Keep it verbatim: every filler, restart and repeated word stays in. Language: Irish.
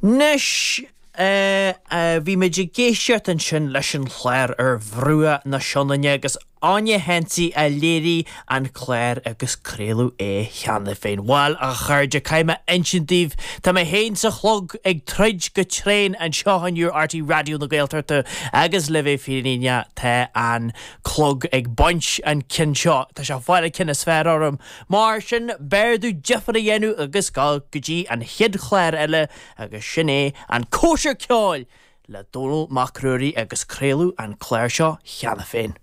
Anois bhí muid ag éisteacht ansin leis an chlár ar bhruach na Sionainne agus Áine Hensey a léirigh an clár agus craoladh é cheana féin. Bhuel a chairde caithfidh mé insint daoibh Tá mé féin sa chlog ag troid go tréan anseo inniu ar Raidió na Gaeltachta agus le bheith fírinneach tá an clog ag baint an cinn seo Tá sé fáil cinn is fearr orm. Mar sin b'fhearr domh difear a dhéanamh agus dul go dtí an chéad chlár eile agus sin é an cóisir ceoil le Dónall Mac Ruairí agus craoladh an clár seo cheana féin.